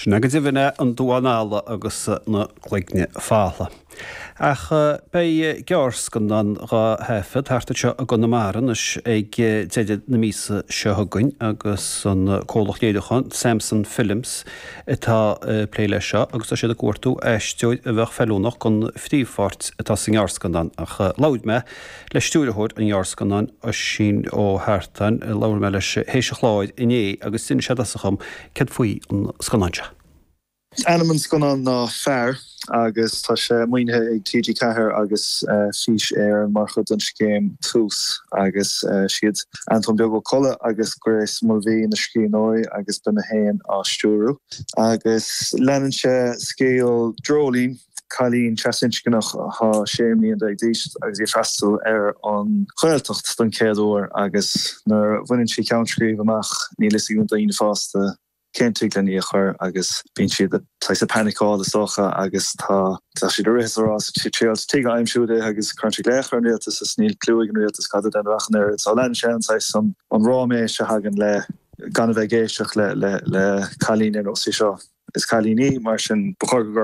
Sin é go deimhin é, an Duán Alla agus na Cloigne Fola. Ach beidh gearrscannán dhá thaifead thart anseo i gConamara anois ag deireadh na míosa seo chugainn agus an comhlacht léiriúcháin Samson Films atá ag plé leis seo agus tá siad ag cuartú aisteoir a bheadh feiliúnach don phríomhpháirt atá sa ngearrscannán. Ach labhair mé le stiúrthóir an ghearrscannáin, Oisín Ó hEartáin, labhair mé leis théis an chláir inné agus d'inis sé i dtosach dhom céard faoi an scannán seo. Ainm an scannáin ná Fear agus tá sé maoinithe ag TG4 agus Fís Éireann mar chuid den scéim Tús agus siad Antóin Beag Ó Colla agus Grace Mulvey na scríbhneoirí agus beidh mé féin á stiúrú agus leanann sé scéal Dreoilín, cailín trasinscneach atá 16 mbliain d'aois agus í ag freastal ar an Ghaeltacht don chéad uair agus nuair a bhaineann sí ceann scríbe amach níl fhios ag na daoine fásta cén tigh len í a chur agus bíonn siad saghas ag paniceáil is dócha agus tá tá siad ag rith is ag rás ag triail tigh a aimsiú di agus cuireann siad glaoch ar an rialtas is níl cliú ag an rialtas cad a déanamh ach an oiread so leanann sé an saghas an an ráiméis a thagann le gan a bheith ag éisteacht le le le cailín ar nós í seo. Is cailín í mar sin ba chóir go.